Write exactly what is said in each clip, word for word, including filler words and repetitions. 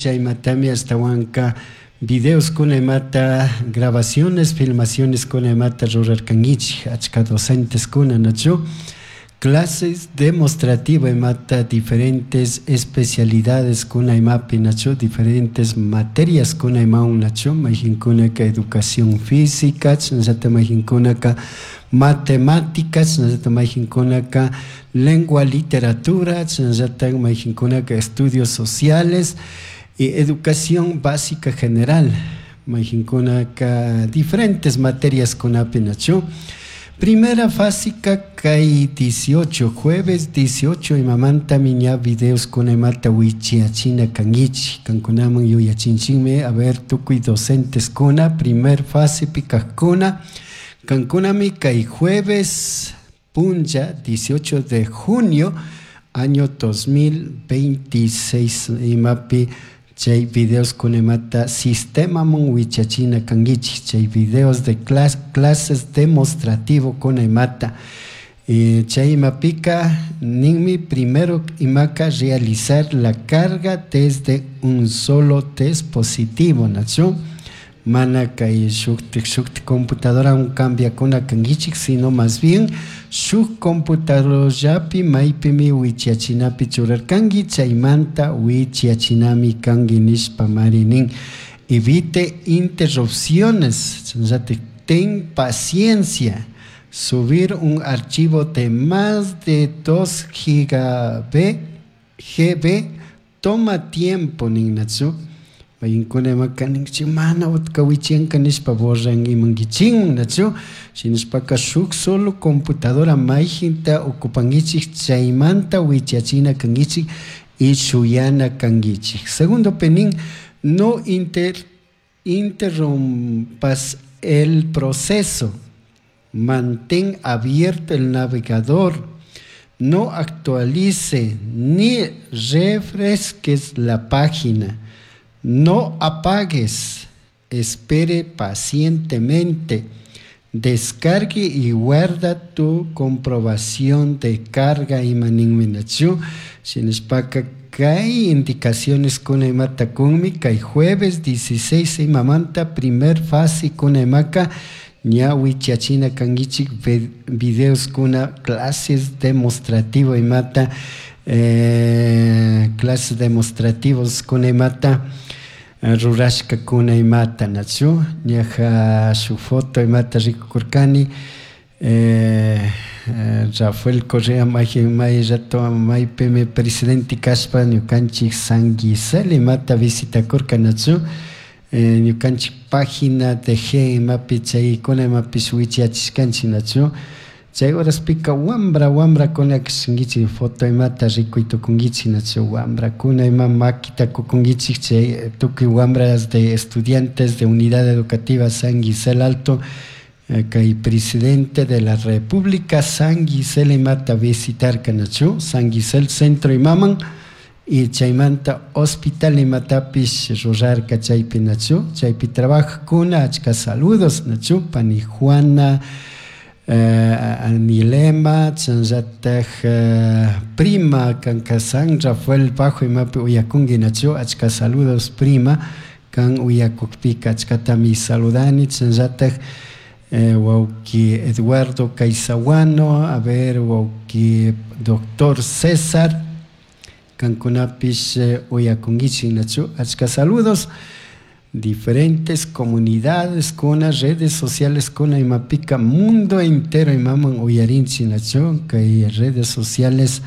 Chaymatami ashtawanka videos kuna imata, grabaciones, filmaciones kuna imata rurarkankichik achka docentes kuna, nachu? Clases demostrativa imata, diferentes especialidades kuna imapi, nachu? Diferentes materias kuna imawan, nachu? Mayjinkunaka educación física, chashnallata mayjinkunaka matemáticas, chashnallata mayjinkunaka lengua, literatura, chashnallata mayjinkunaka estudios sociales y educación básica general, mayjinkunaka diferentes materias kunapi, nachu? Primera fase kay dieciocho, jueves dieciocho imamantami ña videos kuna imata wichiachina kankichik, kankunaman yuyachinchikmi. A ver, tukuy docentes kuna primer fase kajkuna, kankunami kay jueves punlla dieciocho de junio año dos mil veintiséis imapi chay videos kuna imata sistemaman wichachina kankichik, chay videos de clases demostrativo kuna imata. Chay imapika ninmi: primero imaka, realizar la carga desde un solo dispositivo, nachu? Mana kay shuktik shuktik computadorawan cambiakuna kankichik, sino más bien shuk computadorallapi maypimi wichachinapi churarkanki, chaymanta wichachinami kanki nishpa mari nin. Evite interrupciones, chashnallata ten paciencia. Subir un archivo de más de dos gigabytes G B toma tiempo nin, nachu? Mayinkuna imaka ninchik mana utka wichiyanka nishpa borrankimankichikman, nachu? Shinashpaka shuk solo computadora mayjinta ocupankichik, chaymanta wichachina kankichik y shuyana kankichik. Segundo nin: no inter interrumpas el proceso. Mantén abierto el navegador. No actualice ni refresques la página. No apagues. Espere pacientemente. Descargue y guarda tu comprobación de carga ima ninmi, nachu? Shinashpaka kay indicaciones kuna imata kunmi kay jueves dieciséis imamanta primer fase kuna imaka ña wichachina kankichik videos kuna clases demostrativo imata, eh, clases demostrativos kuna imata rurashkakuna imata, nachu? Ñaja shuk foto imata rikukurkani, eh, Rafael Correa may may rato maypimi presidente kashpa ñukanchik San Gisel imata visitakurka, nachu? Ñukanchik página de G imapi chaykuna imapish wichiyachishkanchik, nachu? Chay horaspika wambra wambrakuna kashankichik, foto imata rikuy tukunkichik, nachu? Wambrakuna ima makita kukunkichik chay tukuy wambras de estudiantes de Unidad Educativa San Gisel Alto, kay presidente de la República San Gisel imata visitarka, nachu? San Gisel centro imaman y chaymanta hospital imatapish rurarka chaypi, nachu? Chaypi trabajakuna achka saludos, nachu? Pani Juana, uh, Anilema, chasnallatak uh, prima kanka San Rafael Bajo imapi uyakunki, nachu? Achka saludos, prima, kan uyakukpika achkatami saludani. Chasnallatak eh, wawki Eduardo Caizahuano, a ver, wawki doctor César, kankunapish eh, uyakunkichik, nachu? Achka saludos. Diferentes comunidades kuna, redes sociales kuna imapika mundo entero imaman uyarinchik, nachu? Kay redes sociales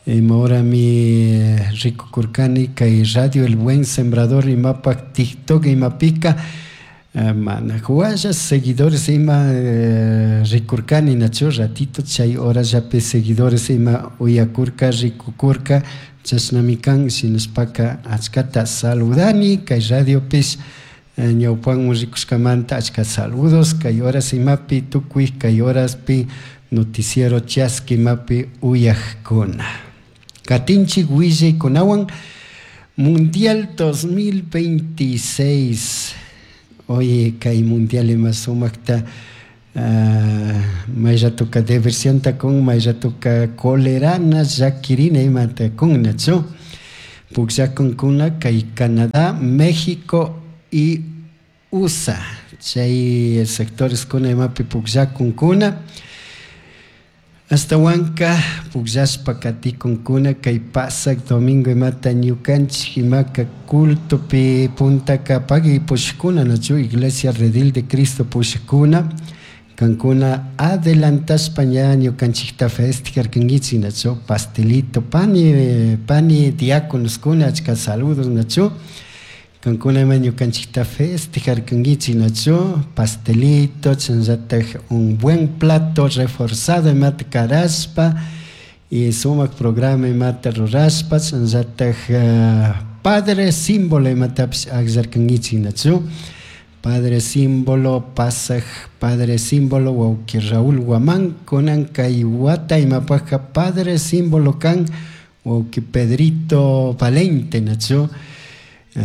imahorami rikukurkani kay Radio El Buen Sembrador imapak TikTok imapika mana hualla seguidores ima rikurkani, nachu? Ratito chay horallapi seguidores ima uyakurka, rikukurka, chashnami kan. Shinashpaka achkata saludani kay radiopish ñawpanman rikushkamanta. Achka saludos kay horas imapi tukuy kay horaspi noticiero Chaski imapi uyakkuna. Katinchik willaykunawan. Mundial dos mil veintiséis. Oye, kay mundial ima sumakta may ratoka diversionta kun, may ratoka colerana, llakirina imata kun, nachu? Pukllakunkuna kay Canadá, México y U S A chay sectores kuna imapi pukllakunkuna astawanka pukllashpa katikunkuna kay pasak domingo imata ñukanchik imaka cultopi puntaka pagui pushkuna nachu Iglesia Redil de Cristo pushkuna kankuna adelantashpa ña ñukanchikta festejarkankichik nachu pastelito pani pani diáconoskuna achka saludos nachu kankuna ima ñukanchikta festejarkankichik nachu pastelito chayllatak un buen plato reforzado imata karashpa y sumak programa imata rurashpa chayllatak padre símbolo imatapish akllarkankichik nachu padre símbolo pasaj padre símbolo wawqi Raúl Guamán kunan kay wata imapajka padre símbolo kan wawqi Pedrito Valente nachu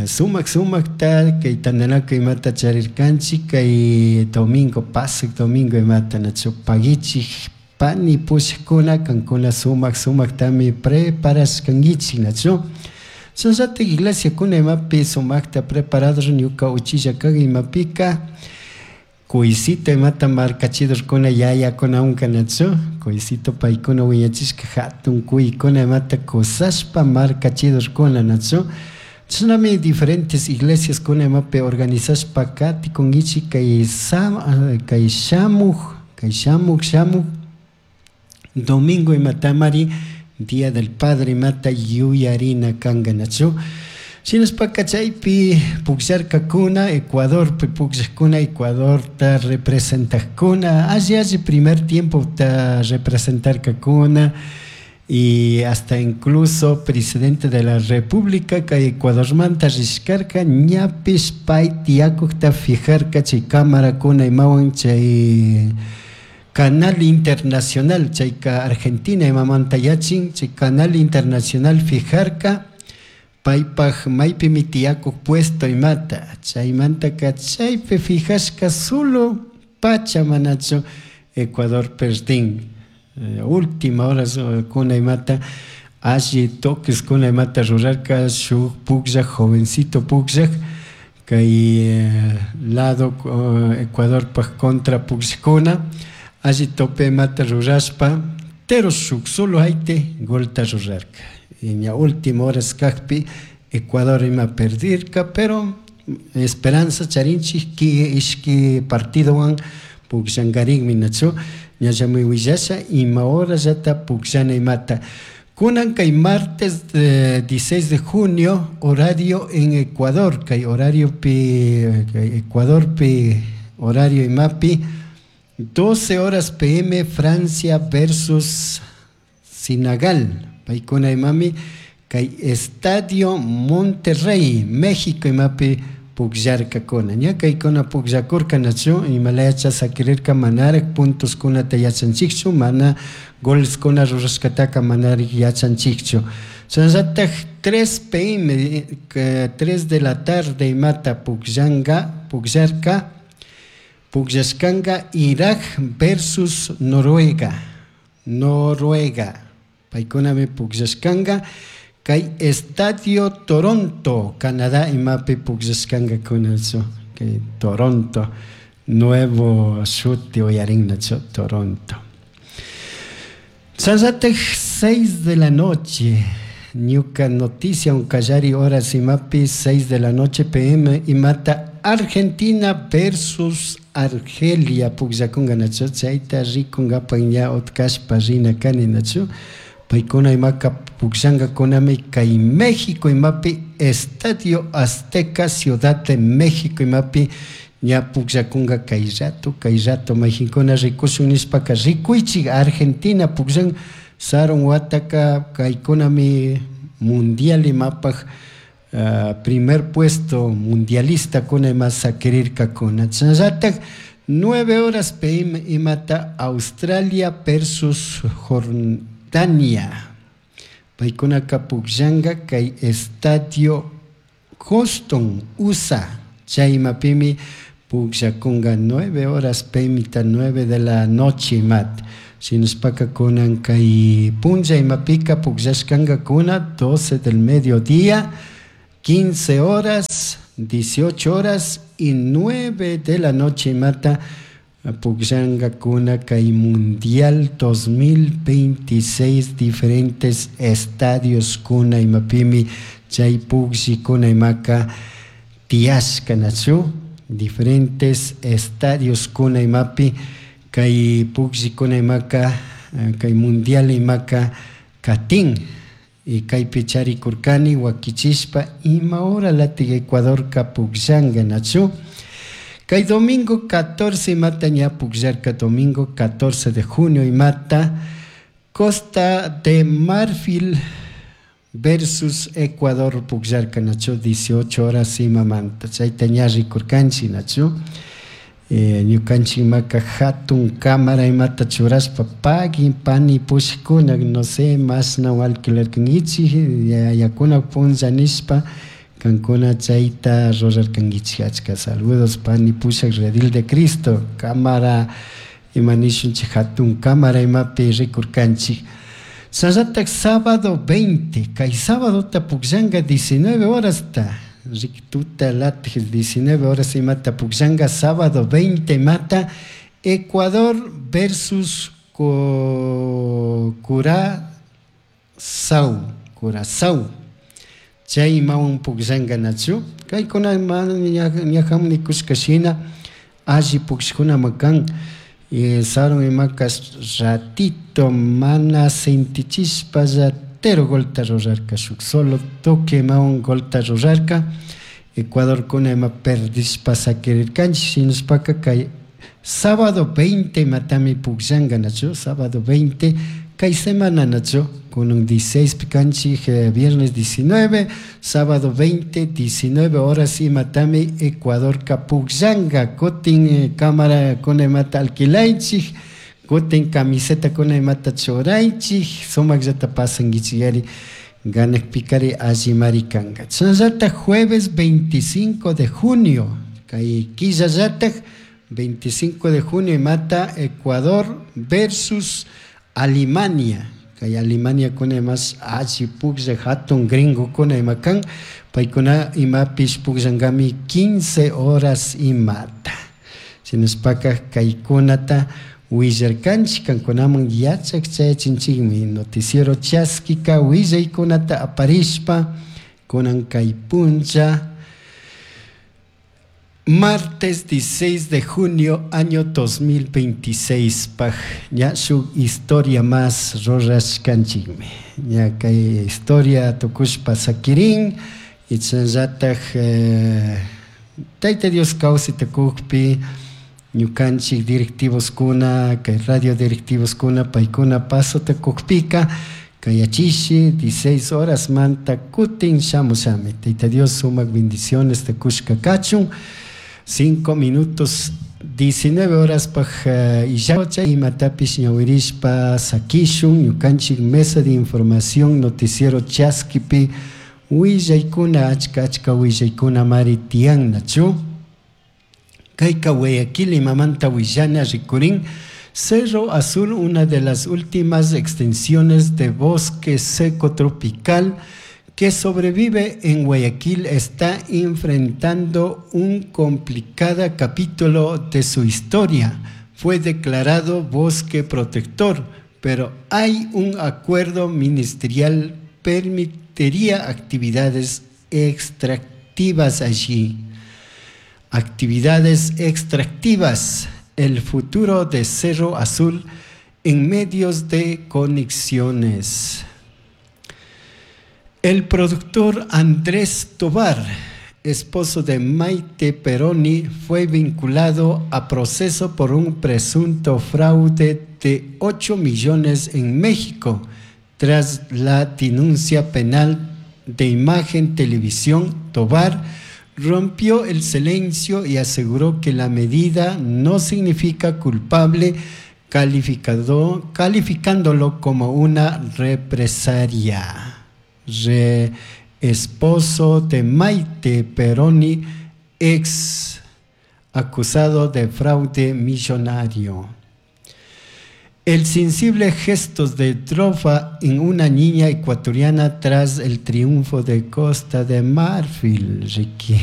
sumak sumakta kay tantanakuy imata charirkanchik kay domingo pasaj domingo imata nachu pagichik pani pushkuna kankuna sumak sumaktami preparashkankichik nachu chayllatak iglesia kuna imapi sumakta preparado ñuka uchilla kan imapika kuycito imata markachidorkuna yayakunawanka nachu kuycito paykuna wiñachishka hatun kuykuna imata kusashpa markachidorkuna nachu chashnami diferentes iglesias kuna imapi organizashpa katikunkichik kay kay shamuk kay shamuk shamuk domingo imatamari Día del Padre imata yuyarina kanka nachu shinashpaka chaypi pukllarkakuna Ecuadorpi pukllakuna Ecuadorta representajkuna alli alli primer tiempo ta representarkakuna y hasta incluso presidente de la República kay Ecuadormanta rishkarka ñapish pay tiyakukta fijarka chay cámarakuna imawan chay Canal Internacional chayka Argentina imamanta yachin chay Canal Internacional fijarka paypaj maypimi tiyakuk puesto imata chaymantaka chaypi fijashka solo pacha manachu Ecuador perdin última horas kuna imata alli toques kuna imata rurarka shuk pukllak jovencito pukllak kay lado Ecuadorpaj contra pukllakuna alli tope imata rurashpa pero shuk solo hayte golta rurarka y ña última horas kakpi Ecuador ima perdirka pero esperanza charinchik ki ishki partidowan pukllankarinmi nachu ñallami willasha ima horallata pukllana imata kunan kay martes dieciséis de junio horario en Ecuador kay horario pi kay Ecuadorpi horario imapi doce horas P M Francia versus Senegal paykuna imami kay Estadio Monterrey México imapi pukllarkakuna ña kaykuna pukllakurka nachu imalayacha sakirirka manarak puntos kunata yachanchikchu mana goles kuna rurashkataka manarik yachanchikchu chayllatak tres P M tres de la tarde imata pukllanka pukllarka pukllashkanka Irak versus Noruega Noruega paykunami pukllashkanka kay Estadio Toronto Canadá imapi pukllashkankakuna kay Toronto nuevo shuti uyarin nachu Toronto chayllatak seis de la noche ñuka noticia unkallari horas imapi seis de la noche P M imata Argentina versus Argelia pukllakunka nachu chayta rikunkapak ña utkashpa rina kani nachu paykuna imaka pukllankakunami kay México imapi Estadio Azteca Ciudad de México imapi ña pukllakunka kay rato kay rato mayjinkuna rikushun nishpaka rikuychik Argentina pukllan sarun wataka kaykunami mundial imapaj uh, primer puesto mundialista kuna ima sakirirkakuna chayllatak nueve horas P M imata Australia versus Jordania paykunaka pukllanka kay Estadio Houston U S A chay imapimi pukllakunka nueve horas P M ta nueve de la noche imat Shinashpaka kunan kay punlla imapika pukllashkankakuna doce del mediodía, quince horas, dieciocho horas y nueve de la noche imata pukllankakuna kay Mundial dos mil veintiséis diferentes estadios kuna imapimi chay pukllikuna imaka tiyashka nachu diferentes estadios kuna imapi kay pukllikuna imaka kay Mundial imaka katin y kaypi charikurkani wakichishpa ima hora latik Ecuadorka pukllanka nachu. Kay domingo catorce imata ña pukllarka domingo catorce de junio imata Costa de Marfil versus Ecuador pukllarka nachu dieciocho horas imamanta chayta ña rikurkanchik nachu. Ñukanchik imaka hatun cámara imata churashpa pagui pani pushkuna no sé mashna alquilarkankichik yayakuna punlla nishpa kankuna chayta rurarkankichik. Achka saludos pani pushak Redil de Cristo cámara ima nishunchik hatun cámara imapi rikurkanchik. Sallatak sábado veinte kay sábadota pukllanka diecinueve horasta riktuta latik diecinueve horas imata pukllanka sábado veinte imata Ecuador versus Curazao Curazao chay imawan pukllanka nachu kaykuna ñajamun nikushka shina alli pukllkunama kan sarun imaka ratito mana sentichishpalla tero golta rurarka shuk solo toque imawan golta rurarka Ecuador kuna ima perdishpa sakirirkanchik shinashpaka kay sábado veinte imatami pukllanka nachu sábado veinte kay semana nachu kunan dieciséis pikanchik viernes diecinueve sábado veinte diecinueve horas imatami Ecuadorka pukllanka kutin cámara kuna imata alquilaychik kutin camiseta kuna imata churaychik sumakllata pasankichik ganakpikari allimari kanka. Chashnallata jueves veinticinco de junio kay killallatak veinticinco de junio imata Ecuador versus Alemania kay Alemania kuna imash alli puklla hatun gringo kuna ima kan paykuna imapish pukllankami quince horas imata shinashpaka kaykunata willarkanchik kankunaman yachak chayachinchikmi noticiero chaskika willaykunata aparishpa kunan kay puncha martes dieciséis de junio año dos mil veintiséis paj ña shuk historia más rurashkanchikmi ña kay historia tukushpa sakirin ichanllatak eh, Tayta Dios kawsayta kukpi ñukanchik directivos kuna kay radio directivos kuna paykuna pasota kukpika kayachishi dieciséis horas manta kutin shamushami Tayta Dios sumak bendiciones te kushka kachun cinco minutos diecinueve horas paj illacha imatapish ñawirishpa sakishun ñukanchik mesa de información noticiero chaskipi willaykuna achka achka willaykuna mari tiyan nachu kayka Guayaquil imamanta willana rikurin Cerro Azul, una de las últimas extensiones de bosque seco tropical que sobrevive en Guayaquil, está enfrentando un complicado capítulo de su historia. Fue declarado bosque protector, pero hay un acuerdo ministerial permitiría actividades extractivas allí. Actividades extractivas, el futuro de Cerro Azul en medios de conexiones. El productor Andrés Tobar, esposo de Maite Perroni, fue vinculado a proceso por un presunto fraude de ocho millones en México, tras la denuncia penal de Imagen Televisión. Tobar rompió el silencio y aseguró que la medida no significa culpable, calificado, calificándolo como una represalia. Re, esposo de Maite Perroni, ex acusado de fraude millonario. El sensible gestos de trofa en una niña ecuatoriana tras el triunfo de Costa de Marfil. Riqui.